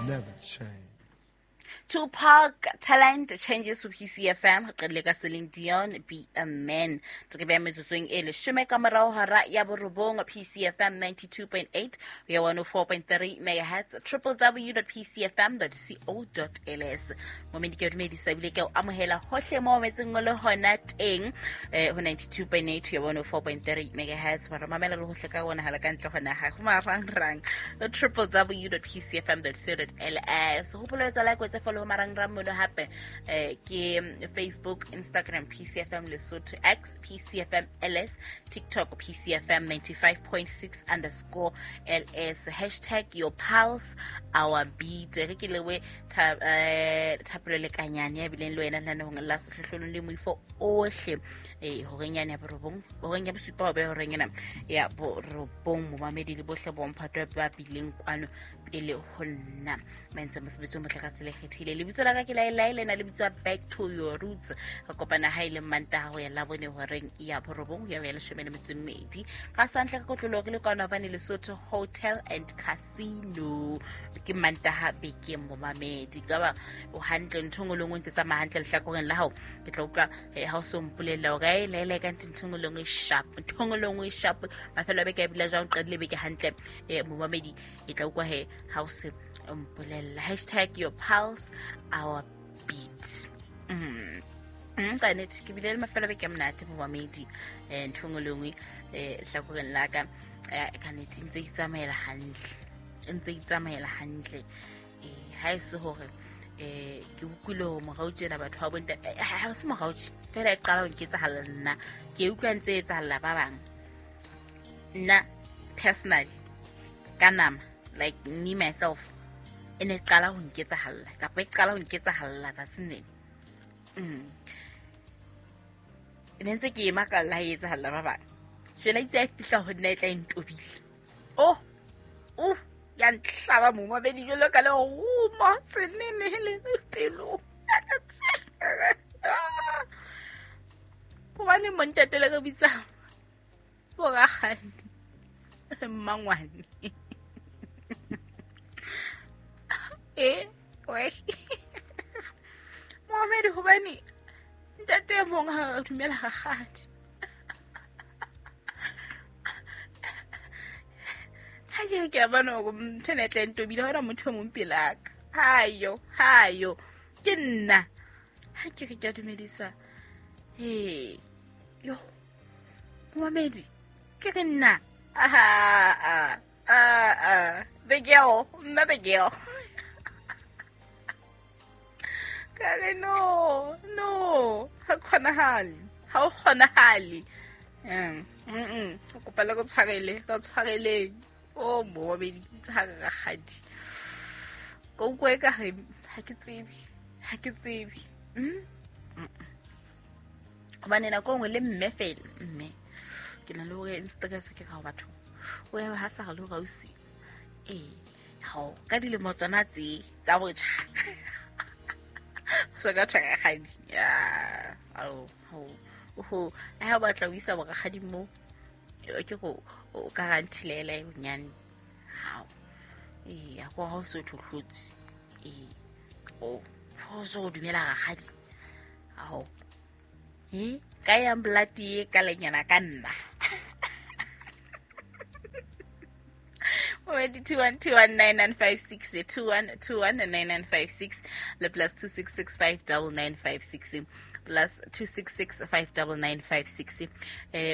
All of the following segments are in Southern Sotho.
Never change. Tupac Talent Changes ho PCFM re qadile ka Celine Dion Be a Man. Tse ke beha metsotsong e leshome ka morao hora ya borobong PCFM 92.8 ho ya 104.3 megahertz www.pcfm.co.ls. Momedi ke o dumedisa ebile ke o amohela hohle mo metseng o le hona teng ho 92.8 ho ya 104.3 megahertz. Ba re mamela le hohle ka bonahala ka ntle ho naha ho marangrang www.pcfm.co.ls. Hopola ho etsa like, o etse follow ho marangrang mono hape ke Facebook, Instagram PCFM Lesotho, X PCFM LS, TikTok PCFM 95.6 underscore LS, hashtag your pulse our beat. Re ke lewe thapelo lekanyane ya bileng le wena lenaneong la sehlohlolong le moifo ohle horeng yane ya borobong, horeng ya bosupa ho be horeng ena ya borobong. Momamedi le bohle bomphato ba bileng kwano pele ho nna ba entse mosebetsi o motle ka tsela e kgethile. Lebitso la ka ke Laelae, lena le bitswa Back to Your Roots. Re kopana ha e le Mantaha ho ya Labone horeng ya borobong ho ya ho ya leshome le metso e mmedi. Ka santle ka kotloloho re le kwano Havane Lesotho Hotel and Casino. Ke Mantaha bekeng momamedi. Ka ba o hantle, ntho e nngwe le nngwe ntse tsamaya hantle lehlakoreng la hao. Ke tla utlwa ha o so mpolella hore ae Laelae ka ntho ntho e nngwe le nngwe e sharp, ntho e nngwe le nngwe e sharp. Mafelo a beke a bile jwang, o qadile beke hantle momamedi. E tla utlwa he ha o se mpolella. Hashtag your pulse our beat. Ka nnete ke bile le mafelo a beke a monate momamedi. Ntho e nngwe le nngwe lehlakoreng la ka ka nnete ntse e itsamaela hantle, ntse e itsamaela hantle. Ha e se hore ke utlwile hore morao tjena batho ba bontate ha se morao tje fela e qala ho nketsahalla nna, ke utlwa ntse e etsahalla ba bang. Nna personally ka nama, like me myself, e ne qala ho nketsahalla kapa e qala ho nketsahalla tsatsing lena. Ne ntse ke ema ka la e etsahalla ba bang. Jwale itse a fihla ho nna e tla e ntobile. Oh, oh, ya ntlhaba momamedi jwalo ka le roma tsenene le pelo. Hobane montate le re bitsa borakgadi mmangwane. Momamedi hobane ntate e mong ha re dumela rakgadi. Ha ke re ke a bona hore ntho ena e tla e ntobile, ha hona motho e mong pelaka. Hayo, hayo. Ke nna. Ha ke re ke a dumedisa. Yo. Momamedi, ke re nna. Aha, ah, ah. The girl, nna the girl. Ka re no, no, ha kgonahale, ha o kgonahale. Kopa le go tshwarele, go tshwareleng. O momamedi, ke itse ha re rakgadi. Ko utlwa e ka re ha ke tsebe, ha ke tsebe. Hobane nako e nngwe le mme fela, mme. Ke na le hore Instagram se ke ka ho batho. O ya ha sa re le hore ausi. Hao, ka dilemo tsona tse tsa botjha. So ka thwe rakgadi. Ya, ao, ao. Oho, ha o batla ho isa borakgadi mo, ke go o ka ranthilela e bonyane. Hao. A ko ha o se o tlhotlhotse. O, ho so dumela rakgadi. Ao. Ka yang blati e ka lenyana ka nna. Already 21219956, 21219956, le plus 266599956, plus 266599956.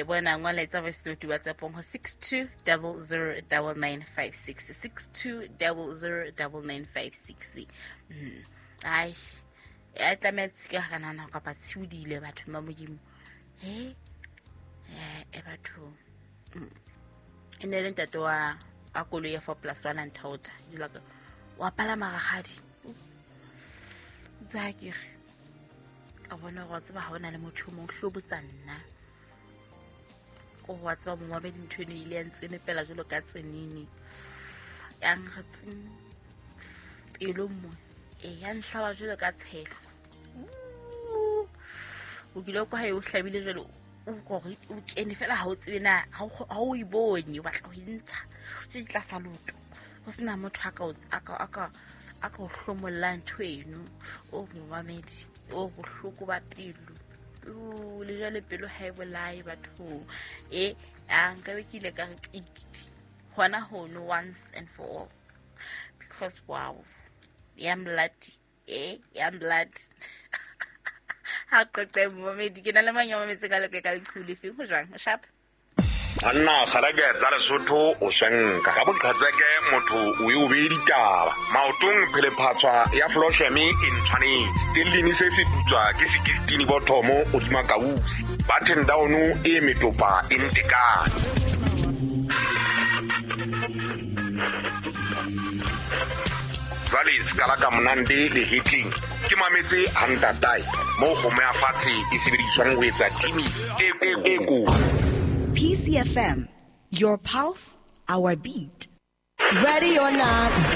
Bona ngola etsa voice note WhatsApp ho 62009956, 62009956. Ai, ya tlameha tshika ka nana kapa tshiudile batho ba Modimo. Batho. E ne le ntate wa a koloi ya 4+1 a nthaotha. Jwalo ka, wa palama rakgadi. Tsa ke re, ka bona hore wa tseba ha hona le motho o mong, hlobotsa nna. Ko wa tseba momamedi ntho eno e ile ya ntsenepela jwalo ka tsenene. Ya nkga tseng pelong mo. Ya nhlaba jwalo ka tshehlo. O kile kwa hae o hlabile jwalo, o kore o kene fela ha o tsebe na, ha o e bone, o batla ho e ntsha. Ke tlasa loto. Ho sena motho a ka o, a ka, a ka, A ka o hlomollang ntho eno. O momamedi, o bohloko ba pelo. O le jwale pelo ha e bolaye bathong. E a nkabe ke ile ka re qikidi hona hono once and for all. Because wow, ya mlati, ya mlati. Ha qoqe momamedi, ke na le mang ya mametse ka leke ka leqhubu lefeng ho jwang? O sharp? Banna kgaleke tsa Lesotho o swenka ka boqhetseke motho o e o bee ditaba maotong phelephatshwa ya flosheme e ntshwanetse tellini se se putswa ke sekistini bothomo hodima kausi button down e metopa e ntekane. Jwale sekala ka monande le hetleng ke mametse hantatae moo kgomo ya fatshe e sebediswang ho etsa timi e ko. PCFM, your pulse, our beat. Ready or not,